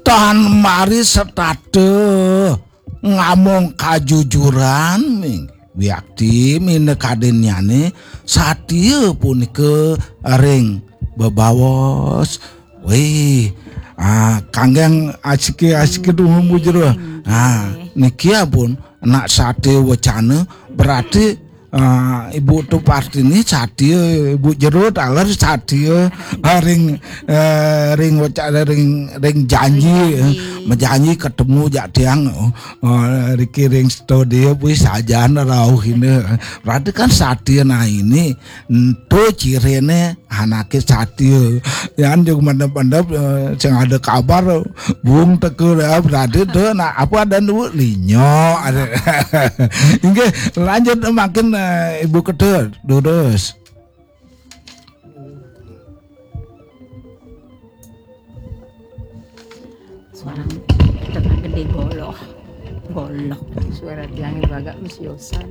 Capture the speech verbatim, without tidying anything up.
Tan mari setata ngamong kajujuran, ming. Wiakti minakadinnyane satia punika ring bebaos. Wih, ah, kanggeng asiki-asiki dumun Bu Jero. Ah, niki ampun nak satia wacana, berarti ah, Ibu Tu Partini satia, Ibu Jero taler satia, ah, ring, eh, ring wacana, ring, ring janji, eh, majanji ketemu jak tiang, oh, oh, riki ring studio, wih, sajan rauh ini. Berarti kan satia, nah, ini, ento cirine anake satia. Yan juga mendep-mendep, eh, sing ada kabar, bung teka, ya, berarti tuh, nah, apa ada dulu linyo, ada. Inggih, lanjut makin, eh, Ibu Kedut, durus. Suara kita gede goloh. Goloh. Suara tiangnya bagak mesiosan.